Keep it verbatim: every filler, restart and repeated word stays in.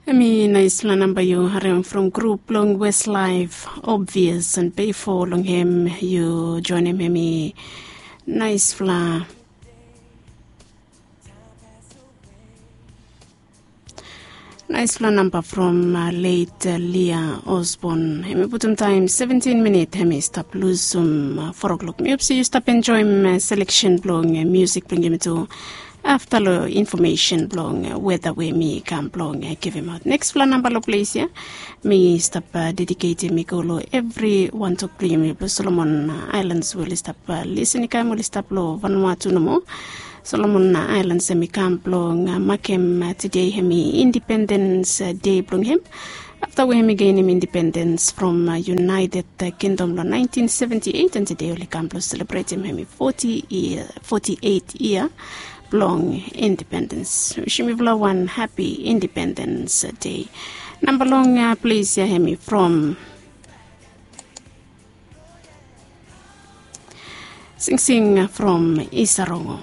Hemi naispela namba yu harim from grup blong Westlife, Obvious and Payfo long hem yu joinim hemi naispela. Naispela namba from uh, late uh, Lia Osborne. Hemi putum taim seventeen minit hemi stap lusum uh, four o'clock. Mi hop se yu stap enjoim uh, selection blong uh, music blong yumi tu. Afta long information blong uh, weda we mi kam blong uh, givim aut. Nextpela namba long ples ya mi stap uh, dediketim i go long evri wan tok blong yumi blong Solomon uh, Islands we oli stap uh, lisin i kam oli stap long Vanuatu nomo. Solomon uh, Islands hemi kam blong uh, makem uh, tudei hemi independens uh, dei blong hem. Afta we hemi genim independens from uh, United uh, Kingdom long nineteen seventy-eight and tudei oli kam blong selebretim hemi forty year, forty-eight year blong independens. Wisim yufala wan happy independens uh, dei. Namba long uh, ples ya hemi from Singsing from Isarongo.